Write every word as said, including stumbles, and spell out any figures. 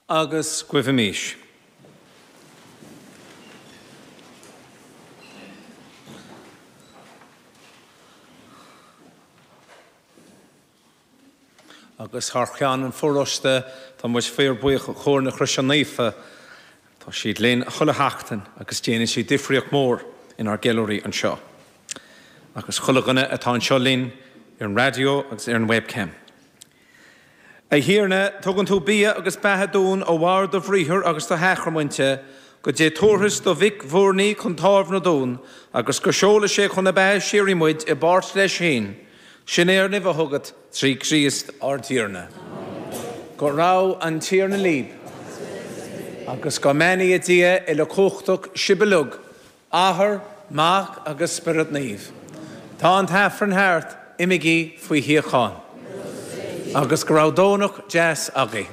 Agus guímis. Agus thar cheann an pharóiste tá muid fíorbhuíoch do Chór na Croise Naofa, Tá siad linn chuile sheachtain agus déanann siad difríocht mór inár gceiliúraí anseo. Agus chuile dhuine atá anseo linn ar an raidió agus ar an webcam. A Thiarna, tugann tú bia agus beatha dúinn ó bharr do bhriathair agus do shacraiminte, go dté tabharthas do Mhic mhurnaí chun támhna dúinn, agus go seola sé chun na beatha síoraí muid i bpáirt leis féin, sin é ár n-uimhe chugat trí Chríost ár dTiarna. Go raibh an Tiarna libh, agus go mbeannaí Dia uilechumhachtach sibh uilig, Athair, Mac agus Spiorad Naomh. Tá an tAifreann thart, imígí faoi shíocháin. Agus go raibh Domhnach deas agaibh.